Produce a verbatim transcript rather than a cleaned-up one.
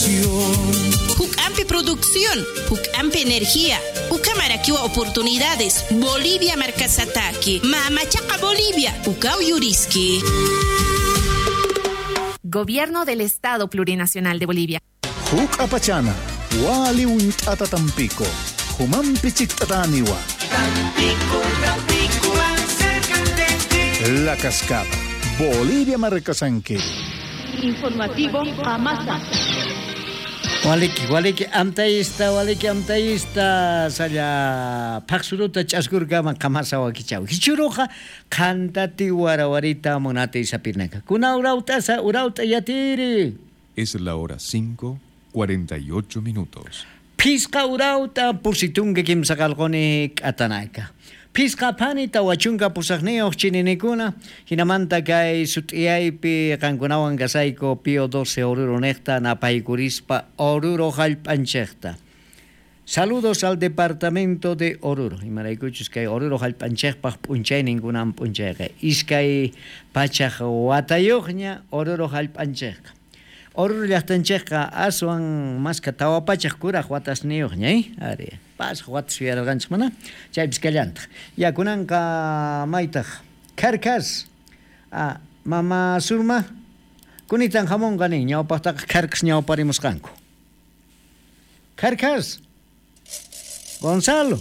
Jucampi Producción, Jucampi Energía, Ucamaraquiwa Oportunidades, Bolivia Marcasataki, Mamachaca Bolivia, Ucao Yuriski. Gobierno del Estado Plurinacional de Bolivia. Huk apachana, wali unt'ata Tampico, Humampi chikt'ataniwa. Tampico, Tampico, acércate. La Cascada, Bolivia Marcasanque. Informativo Amasa. Waliki, waliki, amtayista, waliki, amtayista, salla phaqsuruta ch'askurkama qamasa wakichaw. Hichuruqa qhantati warawarita munati sapirnaka. Kuna urautasa, urauta yatiri. Es la hora cinco, cuarenta y ocho minutos. Pisqa urauta pusitunki kimsa qalquni k'atanaka. Pisqa phani tawachunka pusaqniyuq chininikuna, hinamanta kay sut'iyaypi qankunawan kasayku Pío doce Oruro niqta napaykurispa Oruro hallp'anchikta. Saludos al departamento de Oruro. Imaraykuchus kay Oruro hallp'anchikpaq p'unchayninkunan p'unchayqa. Iskay pachaq watayuqña Oruro hallp'anchikqa. Oruro llaqtanchikqa aswan maska tawa pachaq kuraq watasniyuqña, eh? Ari. Pasaq watas yuyarqanchik mana? Chaypis kallantaq. Ya kunanqa maytaq Kharkas. Ah, mama Surma kunitan hamunqa nin ñawpaqtaqa Kharkas ñawparimusqanku. Kharkas. Gonzalo.